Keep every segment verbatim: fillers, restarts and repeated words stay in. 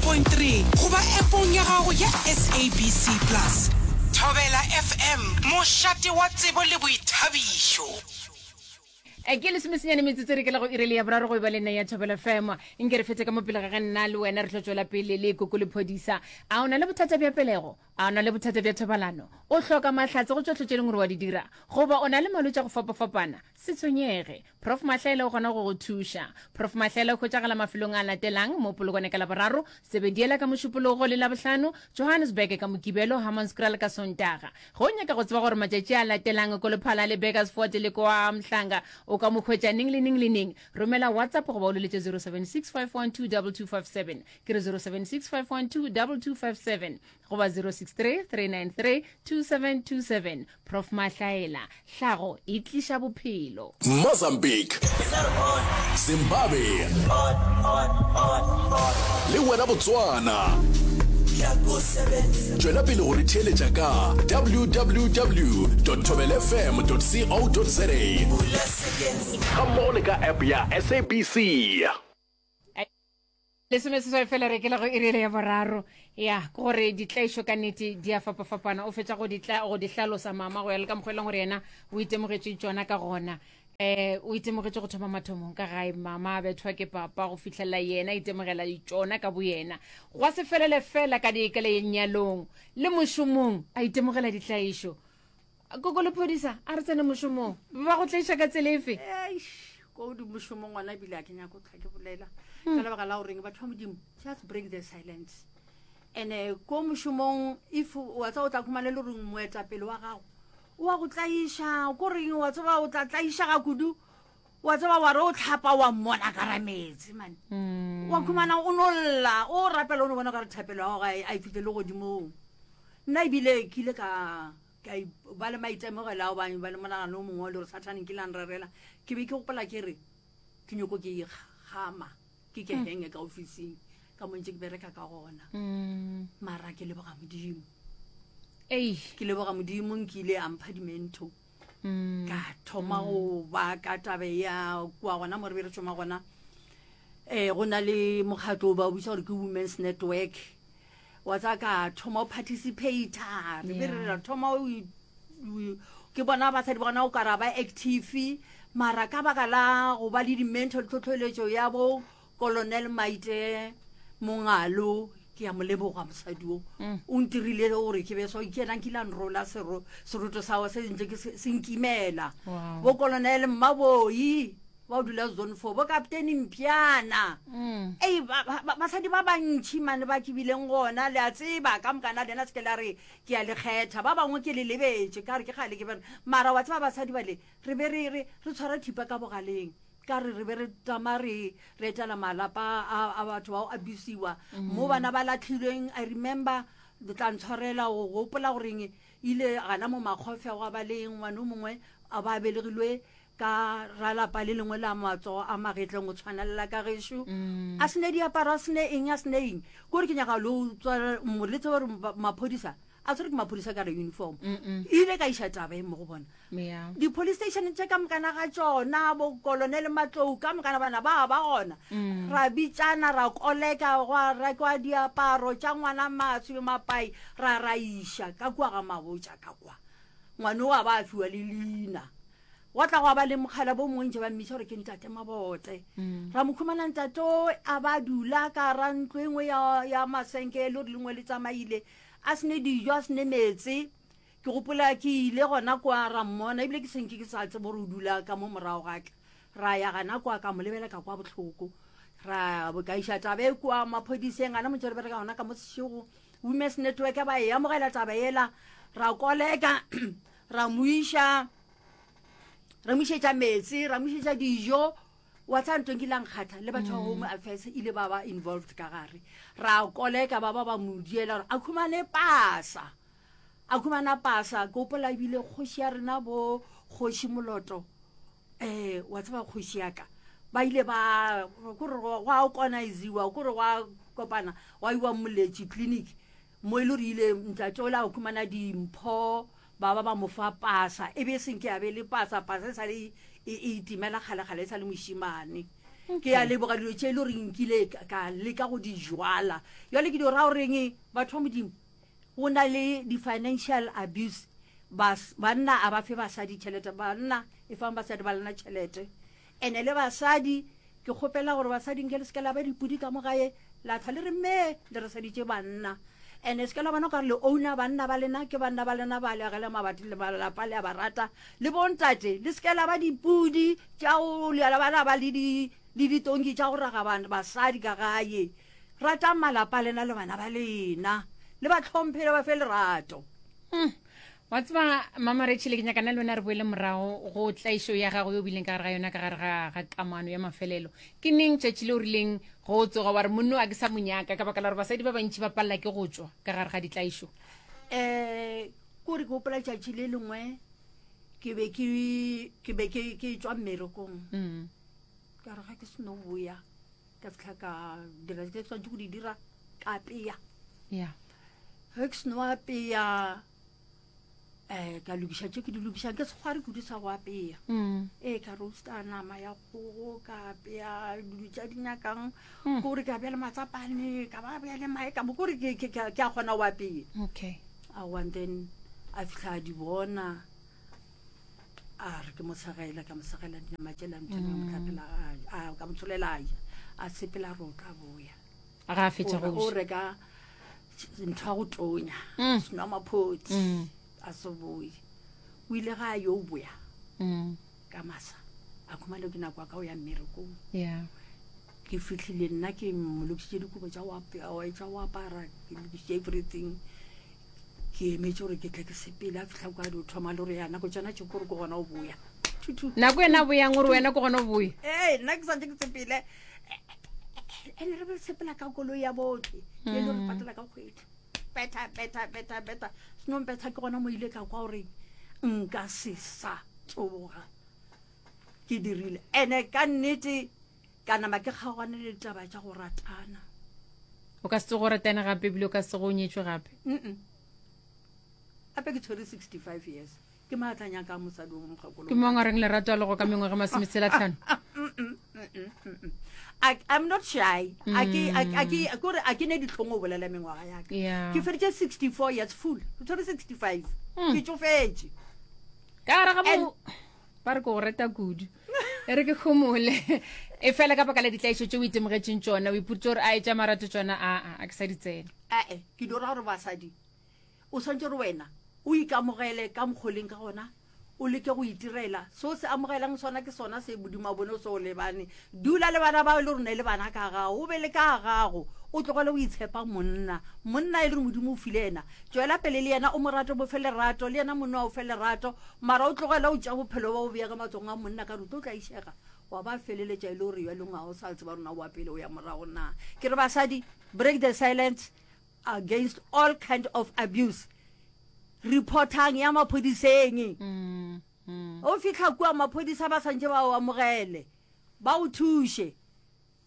point three goba appong ya gago ya S A B C Plus. Thobela F M, mošate wa tsebo le boithabišo. Eh, ke lesomesenyane metsotso re ke la go iri le ya boraro go e ba le nna ya Thobela F M. Nke re fete ka mo pele ga ge nna le wena re tlo tšwela pele le koko lephodisa. A o na le bothata bja pelego? A o na le bothata bja thobalano? O hloka mahlatse go tšohle tše leng gore wa di dira, goba o na le malwetši a go fapafapana? Se tshwenyege, Prof Mahlaela o kgona go go thuša. Prof Mahlaela o hwetšagala mafelong a latelang: mo Polokwane ka Laboraro, Sebediela ka Mošupologo le Labohlano, Johannesburg ka Mokibelo, Hammanskraal ka Sontaga. Ge o nyaka go tseba gore matšatši a latelang ko Lephala le Burgersfort le kwa Mhlanga o ka mo hwetša neng le neng le neng, romela WhatsApp goba o leletše zero seven six, five one two, two two five seven. Ke re zero seven six, five one two, two two five seven goba zero six three, three nine three, two seven two seven. Prof Mahlaela, hlago e tliša bophelo. Mozambique, Zimbabwe le wena Botswana, tšwela pele go re theeletša ka W W W thobelfm co za gammogo le ka app ya S A B C. Lesomeseswai fela re ke la go iri ya boraro. Ya ke gore ditlaišo ka nnete di a fapafapana. O fetša go di tla- go di hlalosa mama go ya le ka mokgwa e leng gore yena o itemogetše tšona ka gona. um o itemogetše go thoma mathomong ka gae, mama a bethwa ke papa, go fihlelela yena itemogela tšona ka boyena, gwa se felele fela ka di ka lenyalong le mošomong a itemogela ditlaišo. Koko lephodisa, a re tsene mošomong, ba go tlaiša ka tsela efe? Eish, ko di mošomong ngwana, ebile a ke nyako tlha ke bolela ka lebaka la goreng batho ba Modimo just break the silence. And ko mošomong, if wa tseba o tla khumana le goreng moetapele wa gago o wa go tlaiša, ko reng wa tseba o tla tlaišega kudu, wa tseba wa re o tlhapa wa mmona ka ra metsi mane, wa khumana o no lla, o rapela, o no bona ka re thapelo ya gago a e- a e fitlhe le godimong. Nna ebile ke ile ka ka i- ba le maitemogelo ao, ba ba le monagano o mongwe le gore Sathane nkile a nrerela. Ke be ke gopola ke re ke nyoko ke ikgama, ke ke henge ka officing ka mo ntse ke bereka ka gona. Mara ke leboga Modimo. Ei. Ke leboga Modimo, nkile a mpha dimento, ka thoma go ba ka tabe ya kua gona mo re be re šoma gona. um go na le mokgatlo o ba o bitsa gore ke Women's Network, wa tsa ka thoma o participata. Re be re ra thoma o i- o- ke bona basadi ba gona o kara ba active, mara ka baka la go ba le di-mental tlhotlhoeletšo ya bo Colonel Maite Mongalo, ke ya mo leboga mosadi o o ntirile gore ke be so, ke ena nkile a nrola sero- seroto sao se ntse ke se se nkimela. Wow. Bo Colonel Mmaboi ba o dula Zone Four, bo Captain Mpiana, ei, ba- ba- ba- basadi ba bantšhi mane ba ke bileng gona, le a tseba ka mokana lena, se ke la re ke a le kgetha, ba bangwe ke le lebetše ka re ke gale ke bere. Mara wa tseba basadi bale re be re re re tshwara thipa ka bogaleng, ka re re be re tama re re etela malapa a a batho bao abusiwa mo bana ba latlhilweng. I remember, le tla ntshwarela go gopola goreng ile gana mo Makgofe gwa ba le ngwane o mongwe a ba belegilwe ka ralapa le lengwe la matsogo a magetleng go tshwanelela ka gešo, a sene diaparo, a sene eng, a sene eng. Kore ke nyaka le o tswa- mo- le tsebe gore ba- maphodisa a tshwere ke maphodisa ka re uniform, ile ka iša taba e mo go bona Yeah. di-police station tše ka mokana ga tšona, bo Colonel Matlou ka mokana bana ba ba gona. Ra bitsana, ra koleka, gwa rekwa diaparo tša ngwana, maswi, mapai, ra ra iša ka kua ga Mabotja ka kwa, ngwane o a ba a fiwa le leina. Gwa tla gwa ba le mokgala bo mongwe ntse ba mmitša gore ke ntate Mabote, ra mo khumana ntate o a ba dula ka ra ntlo e nngwe ya, ya masenke e le gore lengwe le tsamaile, a sene dijo, a sene meetse. Ke gopola ke ile gona kwa ra mmona, ebile ke senke ke sa tsebe gore o dula ka mo morago gaka. Ra ya gana kwa, ka mo lebela, ka kwa bohloko, ra ka iša taba e kua maphodiseng gana motse re bereka gona ka mo Sešego. Women's Network ba e amogela taba ela, ra koleka, ra mo iša, ra mo išetša meetse, ra mo išetša dijo. Wa tsa ntong ke lang kgatha le batho ba Home Affairs ile ba ba involved ka gare, ra koleka, ba ba ba mo diela gore a khumane pasa, a khumana pasa. Ke gopola ebile kgoši ya rena, bo Kgoši Moloto, um wa tseba kgoši yaka, ba ile ba kore gwa organiziwa, kore gwa kopana, gwa iwa Moletši clinic mo e le gore ile ntate ola a khumana dimpho, ba ba ba mo fa pasa, e be e senke a be le pasa, pasa e sa le e e itimela kgale-kgale e sa le mošimane. Ke ya leboga dilo tše e le gore nkile ka leka go di jwala. Jwale ke di ra goreng batho ba Modimo, go na le di-financial abuse. Bas, banna a ba fe basadi tšhelete, banna e fang basadi ba lena tšhelete. Ene le basadi, ke kgopela gore basadi nke le se ke la ba dipudi ka mo gae, la tha le re mme le re saditše banna. Ene se ke la bona okare le owner banna ba lena, ke banna ba lena ba le agela mabati le malapa le a ba rata. Le bontate le se ke la ba dipudi tša go le la bana ba le di le ditonki tša go raga basadi ka gae. Ratang malapa a lena le bana ba lena, le ba tlhomphe le ba fe lerato. Mm. Wa tseba Mama Rachel, ke nyaka nna le wena re boele morago go tlaišo ya gago yo bileng ka gare ga yona, ka gare ga ga kamano ya mafelelo. Ke neng tšatši le o rileng go tsoga wa re monno a ke sa monyaka, ka baka la gore basadi ba bantši ba palela ke go tšwa ka gare ga ditlaišo? Eh, kore ke gopola tšatši le lengwe ke be ke ke be ke ke tšwa mmerekong. Mm. Ka re ga ke seno boya, ka fitlha ka dira tse ke tshwanetse go di dira, ka apea. Yeah. Ge ke seno apea, eh, ka lokiša tše ke di lokišang, ke sekgwari kudu sa go apea. Mm. Ee, ka roasta nama ya kgogo, ka apea dilo tša di nyakang, Mm. kore ka bea le matsapane, ka ba bea le mae, ka mo kore ke, ke, ke, ke a kgona go apea. Okay. Aowa, and then a fitlha a di bona, a re ke mo segela, ka mo segela dinama tšela ntho e nngwe, Mm. mohlapela, a, a, ka mo tsholela a ja, a sepela re o tla boya. Ga a fetša go O re, o ja. reka ntho ya go tonya, Mm. senwa maphotse. Mm. A se boye. O ile ga a yo boya Mm. ka masa, a khumane ke nako ya ka o ya mmerekong. Yeah. Ke fihlile nna ke mo lokišitše dikobo tša go apea, tša go apara, ke lokišitše everything. Ke emetse gore ke tle ke sepele, a fihla kwa di o thoma le gore ya nako tšona tše kore ke gona o boya. Thu, thu. Nako ena a boyang gore wena ke gona o boya? Ee, nna ke santse ke sepele. Ene re be re sepela ka koloi ya botlhe, e le gore Mm. patela ka kgwedi. Betha, betha, betha, betha. Senong betha ke gona mo ile ka kwa gore nka se sa tsoga. Ke dirile. Ene ka nnete ka nama ke kgaogane le ditaba tša go ratana. O ka se tsoge o ratane gape, ebile o ka se tsoge o nyetšwe gape? Mm-mm. Gape ke tshwere sixty-five years. Ke maatla nyaka mosadi o mokgekolo. Ke mang a reng lerato a lego ka mengwaga masometshela tlhano? I, I'm not shy. A ke, a, a ke, kore a ke ne ditlhong go bolela mengwaga ya ka. Yeah. Ke feditše sixty-four years full. Ke tshwere sixty-five. Mm. Ke tsofetše. Ka gare ga bo And ba re ke go rata kudu. E re ke homole. E fela ka baka la ditlaišo tše o itemogetšeng tšona, o ipoditše gore a e tša marato tšona, a, a, a ke sa di tsena. Ae, ke di ra gore basadi, o swantse gore wena o ikamogele ka mokgoleng ka gona, o leke go itirela seo se amogelang sona ke sona se Modimo a bone o se o lebane. Dula le bana bao e le gore ne le bana ka gago, o be le ka gago, o tlogele o itshepa monna. Monna e le gore Modimo o file yena, tšwela pele le yena, o mo rate, o mo fe lerato, le yena monna o fe lerato, mara o tlogele o tša bophelo ba o bea ka matsogong a monna, ka re o tlo tlaišega, wa ba feleletša e le gore jwale ga o sa tseba rona wa pele o ya morago na. Ke re basadi, break the silence against all kind of abuse. Reportang ya maphodiseng. Mm, mm. O fihla kua maphodisa ba santse ba o amogele, ba o thuše,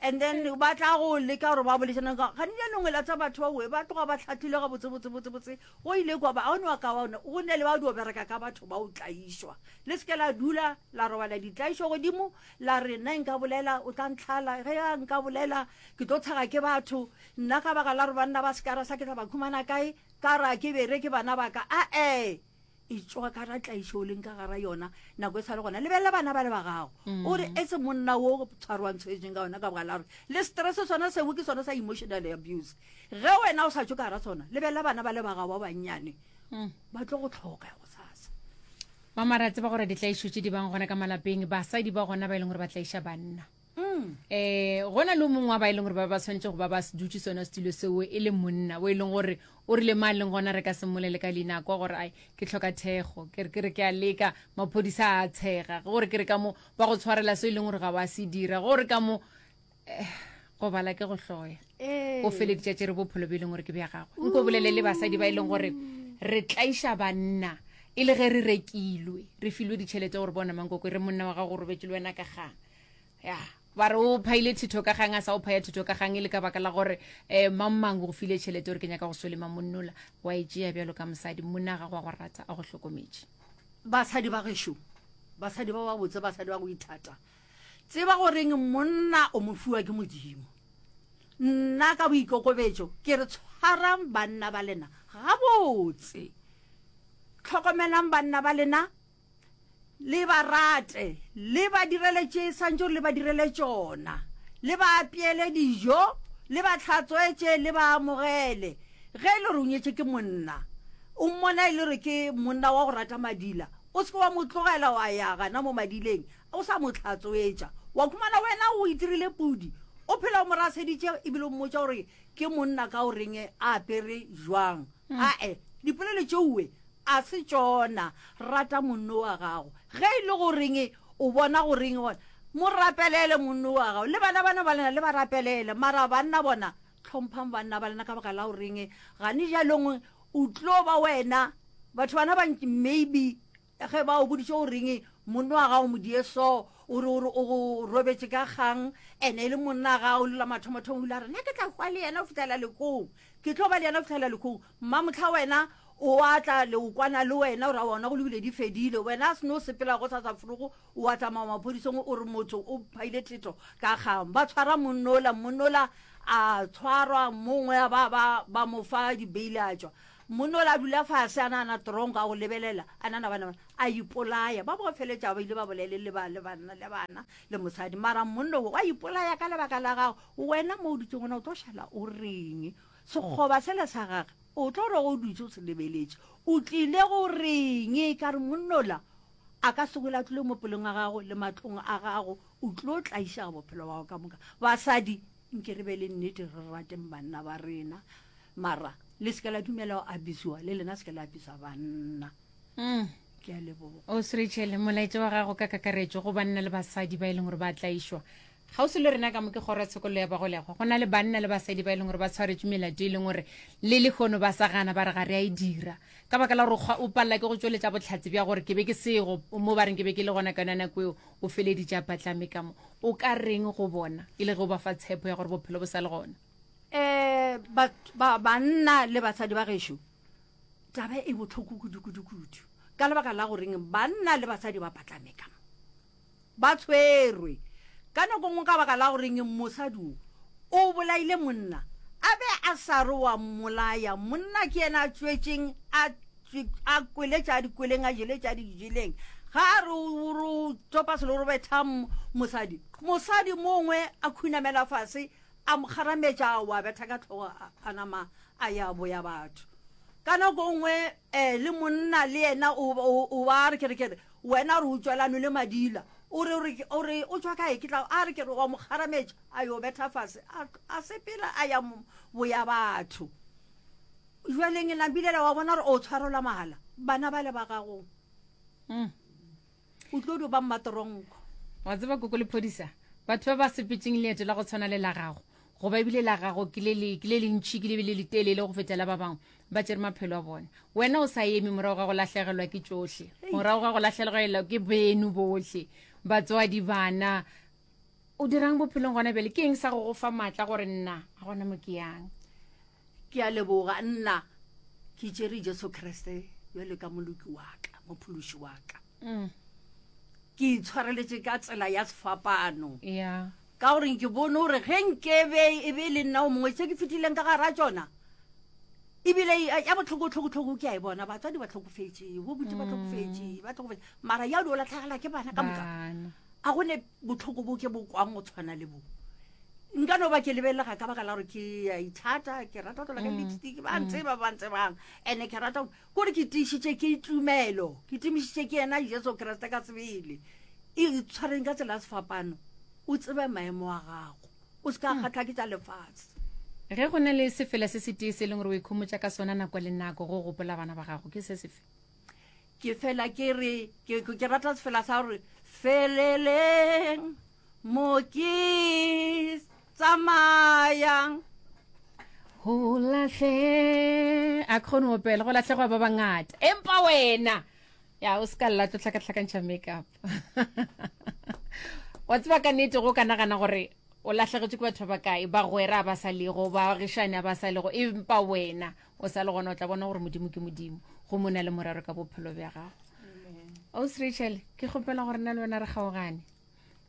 and then ba tla go leka gore ba bolešana ka gane jaanong la tsa batho ba oe ba tloga ba tlhatlhile ga botse botse botse botse. Go ile kwa ba a one wa ka wa one go ne le ba dio bereka ka batho ba o tlaišwa. Le seke la dula la robala ditlaišo godimo, la re nna nka bolela o tla ntlhala, ge a nka bolela ke tlo tshega ke batho, nna ka baka la gore banna ba sekara sa ke tla ba khumana kae, ka ra ke bereke bana ba ka. Ae, e tšwa ka ra tlaišo o leng ka gara yona nako e sa le gona. Lebelela bana ba le ba gago, o re e se monna wo tshwarwang tshwetseng ka yona ka baka la gore le stress sona seo ke sona sa emotional abuse. Ge wena o sa tšwe ka gara sona, lebelela bana ba le ba gago ba bannyane, Mm. ba tlo go tlhoka gosasa. Mama, re a tseba gore ditlaišo tše di bang gona ka malapeng, basadi ba gona ba e leng gore ba tlaiša banna. Mm. Eh, gona le o mongwe wa ba e leng gore ba ba tshwanetse go ba ba dutše sona setulo seo e le monna o e leng gore o rile ma leng gona re ka se mmolele ka leina kwa gore ai ke tlhoka thekgo, ke re ke re ke a leka, maphodisa a tshega, gore ke re ka mo ba go tshwarela se e leng gore ga wa se dira, gore ka mo, eh, go bala ke go hloya. Ee. O feleditše tšere bophelo bo e leng gore ke bja gagwe. Nko bolele le basadi ba e leng gore re tlaiša banna e le ge re rekilwe, re filwe ditšhelete gore bona mankoko re monna wa gago o robetše le wena ka kgang. Ya, ba re o phaile thitho ka kgang, a sa o phaya thitho ka kgang e le ka baka la gore, eh, mang mang o go file tšhelete gore ke nyaka go solema monnola, wa e tšea bjalo ka mosadi, monna ga go a go rata, a go hlokometše. Basadi ba gešo, basadi ba ba botse, basadi ba go ithata, Tseba goreng monna o mo fiwa ke Modimo. Nna ka boikokobetšo ke re tshwarang banna ba lena gabotse. Hlokomelang banna ba lena, le ba rate, le ba direle tše swantše gore le ba direle tšona, le ba apeele dijo, le ba hlatswetše, le ba amogele. Ge e le gore o nyetše ke monna, o mmona e le gore ke monna wa go rata madila, o se ke wa mo tlogela wa ya gana mo madileng o sa mo hlatswetša, wa khumana wena o itirile pudi, o phela o mo raseditše ebile o mmotša gore ke monna ka o reng a apere jwang. Ae, dipolelo tšeoe a se tšona. Rata monno wa gago. Ge e le goreng o bona goreng gona, mo rapelele monno wa gago. Le bana bana ba lena le ba rapelele. Mara banna bona, hlomphang banna ba lena ka baka la goreng gane bjalong o tlo ba wena. Batho bana ba maybe ge ba o boditše goreng monno wa gago modie so, o re o re o robetše ka kgang, ene e le monna gago le la mathomothomo o ile a re nna ke tla hwa le yena go fihlela lekong, ke tlo ba le yena go fihlela lekong. Mmamohla wena o a tla le o kwana le wena o ra wona go lebile di fedile, wena a se no sepela go sasa forogo o a tsamaya maphodiseng o re motho o phaile thetho ka kgang. Ba tshwara monnola, monnola a tshwarwa mongwe ba ba ba mo fa dibeile a tšwa. Monnola a dula fase a nagana tronko a go lebelela a nagana bana bana a ipolaya. Ba bo feletša ba ile ba bolele le ba le banna le bana le mosadi, mara monno wa ipolaya ka lebaka la gago. Wena mo o dutseng gona o tlo šala o reng? Sekgoba sele sa gage o tlo re o dutse o se lebeletše, o tlile go reng? Ka re monnola a ka se wele a tlile mo pelong a gago le matlong a gago, o tlo tlaišega bophelo ba gago ka moka. Basadi nke re be le nnete, re rateng banna ba rena, mara le se ke la dumela go abisiwa, le lena se ke la abisa banna. Mm. Ke a leboga. O Rachel, molaetša wa gago ka kakaretšo go banna le basadi ba e leng gore ba tlaišwa kgauswi le rena ka mo ke kgoro ya tshokollo ya bagolegwa, go na le banna le basadi ba e leng gore ba tshwaretšwe melato e leng gore le lehono ba sa gana ba re ga re a e dira ka baka la gore o palela ke go tšweletša bohlatse bja gore ke be ke sego mo ba reng ke be ke le gona ka yona nako eo, o feleditše a patlame ka mo. O ka reng go bona e le ge o ba fa tshepo ya gore bophelo bo sa le gona? Um ba banna le basadi ba gešo, taba e bohloko kudu-kudu-kudu ka lebaka la goreng banna le basadi ba patlame ka mo, ba tshwerwe ka nako nngwe ka baka la goreng mosadi o o bolaile monna a be a sa re wa mmolaya, monna ke yena a tswetšeng a a kweletša a dikweleng a jeletša a di jeleng, ga a re o topa selo re betha mosadi, mosadi mongwe a khunamela fase a mo kgarametša wa betha ka tlhogo a nama a ya boya batho. Ka nako nngwe um le monna le yena o ba re kere kere wena re o tswelano le madila, o re o re o tswa kae, ke tla a re kere wa mo kgarametša a yo betha fase a sepela a ya boya batho. Jwaleng nambilela wa bona gore o tshwarelwa mahala bana ba le ba gago, Mm. o tlo dio ba mmatronko. Wa tseba koko lephodisa, batho ba ba sepetseng leeto la go tshwana le la gago, goba ebile la gago ke le le ke le lentši ke le le letelele go feta la ba bangwe, ba tšere maphelo a bona. Wena o sa eme morago ga go lahlegelwa ke tšohle, morago ga go lahlegelwa ke beno bohle, batswadi, bana, o dirang bophelong gona bjale? Ke eng sa go go fa maatla gore nna ga gona mo ke yang? Ke a leboga. Nna ke tšere Jesu Kriste bjalo ka moloki wa ka, mophološi wa ka. Mm. Ke itshwareletše ka tsela ya sefapano. Yeah. Ka gore ke bone gore ge nkebe e be le nna o mongwe tše ke fetileng ka gara tšona, ebile ya bohloko-hloko-hloko ke a e bona, batswadi ba hlokofetše, bo buti ba hlokofetše, ba hlokofetše, mara ya o latlhegela ke bana ka moka. Bana. A go ne bohloko bo ke bo kwang go tshwana le bo. Nka no ba ke lebelega ka baka la gore ke a ithata, ke rata go tlola ka lipstick, ba ntseba ba ntsebang, ene ke rata kore ke tiišitše ke tumelo, ke tumišitše ke yena Jesu Kriste ka sebele. E tshwareng ka tsela ya sefapano, o tsebe maemo a gago, o se ka kgahlwa ke tša lefatshe. Ge go na le sefela se setee se e leng gore o ikhomotša ka sona nako le nako go gopola bana ba gago, ke se sefe? Ke fela ke re ke ke rata sefela sa gore feleleng mo ke tsamayang. Go lahle a kgone go opela, go lahlegwa ba bangata, empa wena ya o se ka lla tlo hlakahlakantšha makeup. Wa tseba ka nnete go ka nagana gore o lahlegetšwe ke batho ba bakae, bagwera ba sa lego, baagišani ba sa lego, empa wena o sa le gona, o tla bona gore Modimo ke Modimo, go mona le morero ka bophelo bja gago. Ausi Rachel, ke kgopela gore nna le wena re kgaogane.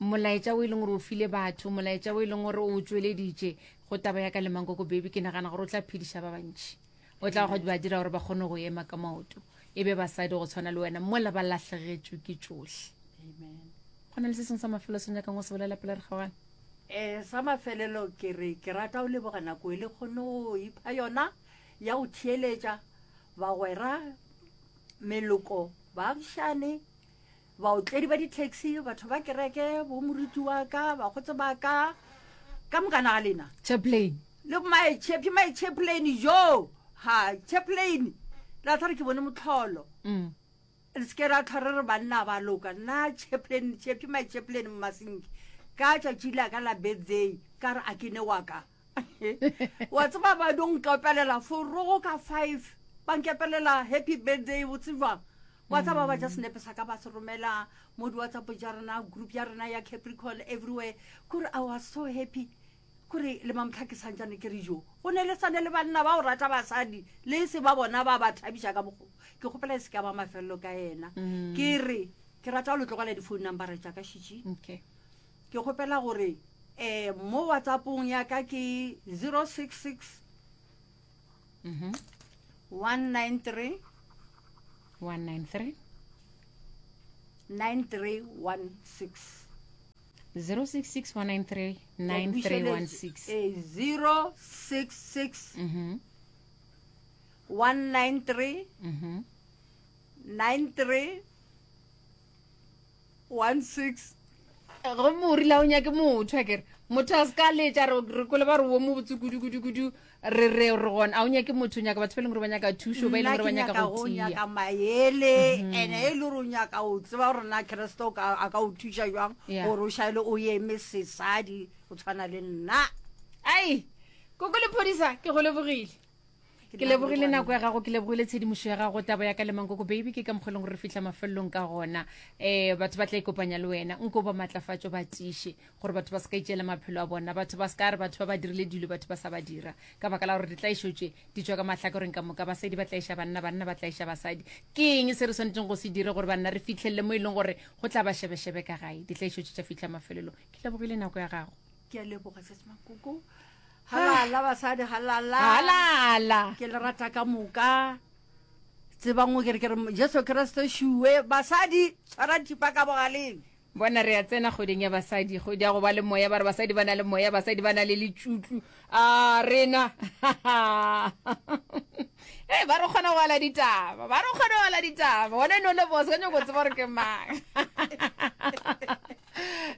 Molaetša o e leng gore o file batho, molaetša o e leng gore o tšweleditše go taba ya ka le Mankoko Baby, ke nagana gore o tla phediša ba bantši. O tla go ba dira gore ba kgone go ema ka maoto, e be basadi go tshwana le wena mola ba lahlegetšwe ke tšohle. Amen. Go na le se sengwe sa mafelelo se o nyakang go se bolela pele re kgaogana? Um sa mafelelo ke re ke rata go leboga nako e le kgone go ipha yona ya go theeletša bagwera, meloko, baagišane, baotledi ba di-taxi, batho ba kereke, bo moruti wa ka, bakgotse ba ka, ka mokana ga lena. Chaplain. Le my chap, my chaplain jo. Ha, chaplain. La tla re ke bone motlholo. Mm. Re se ke ra tlhwa re re banna ba loka. Nna chaplain, chap, my chaplain Mmasenki. Ka tšatši la ka la birthday, ka re a ke ne wa ka. Wa tseba ba do nkepelela forogo ka five. Ba nkepelela happy birthday botse jwang. Wa tseba ba ja senepe sa ka ba se romela mo di WhatsApp tša rena, group ya rena ya Capricorn everywhere. Kore I was so happy. Kore le mamotlha ke santšane ke re jo. Go ne le sane le banna ba o rata basadi le se ba bona ba ba thabiša ka mokgo. Ke kgopela e se ka ba mafelelo ka yena. Ke re ke rata go le tlogela di-phone number tša ka šitši. Okay. Ke kgopela gore eh mo WhatsAppong ya ka ke zero six six Mhm. one nine three one nine three nine three one six. zero six six one nine three nine three one six. Eh, zero six six Mhm. one nine three Mhm. nine three one six. Gomme o rile ha o nyake motho, a kere motho a se ka letša, re, re kwele ba re wo mo botse kudu, kudu, kudu, re, re, re gona. A o nyake motho, o nyaka batho ba e leng gore ba nyaka thušo, ba e leng gore ba Nna ke nyaka nyaka go go tia. nyaka maele, ene e le gore o nyaka go tseba gore na Kriste o ka, a ka o thuša jwang, Yeah. gore o šale o eme sesadi o tshwana le nna. Ai, koko lephodisa, ke go lebogile. Ke lebogile nako ya gago, ke lebogile tshedimošo ya gago, taba ya ka le Mankoko Baby, ke ka mokgwa e leng gore re fihla mafelelong ka gona. Eh, batho ba tla ikopanya le wena, nko ba matlafatšo, ba tiiše gore batho ba se ka itšeela maphelo a bona, batho ba se ka re batho ba ba dirile dilo, batho ba sa ba dira, ka baka la gore ditlaišo tše di tšwa ka mahlakoreng ka moka. Basadi ba tlaiša banna, banna ba tlaiša basadi. Ke eng se re swanetšeng go se dire gore banna re fihlelele mo e leng gore go tla ba šebešebe ka gae, ditlaišo tše tša fihla mafelelong? Ke lebogile nako ya gago. Ke a leboga, Sesi Mankoko. Halala basadi, halala. Halala. Ke le rata ka moka. Tsebang o ke re ke re Jesu Kriste šuwe. Basadi, tshwara thipa ka bogaleng. Bona re a tsena kgweding ya basadi, kgwedi ya go ba le moya, ba re basadi ba na le moya, basadi ba na le letšutlu. A rena. Hey, ba re kgona go ala ditaba, ba re kgona go ala ditaba. Wena no le boss, ka nyako tseba gore ke mang.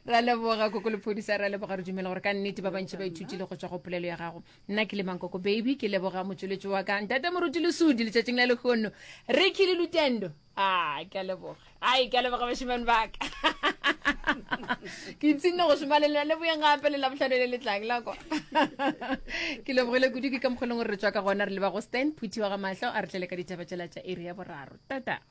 Ra leboga koko lephodisa, ra leboga, re dumela gore ka nnete ba bantši ba ithutile go tšwa go polelo ya gago. Nna ke le Mankoko Baby, ke leboga motšweletši wa ka ntate Moruti Lesudi letšatšing la lehono, Ricky le Lutendo. Ah, ke a leboga. Ai, ke a leboga bašemane ba ka. Ke ipshinne go šoma le lena, le boyeng gape le Labohlano le le tlang la kwa. Ke lebogile kudu, ke ka mokgwa e leng gore re tšwa ka gona, re leba go Stan Phuthi wa ga Mahlo, a re tlele ka ditaba tšela tša iri ya boraro. Tata.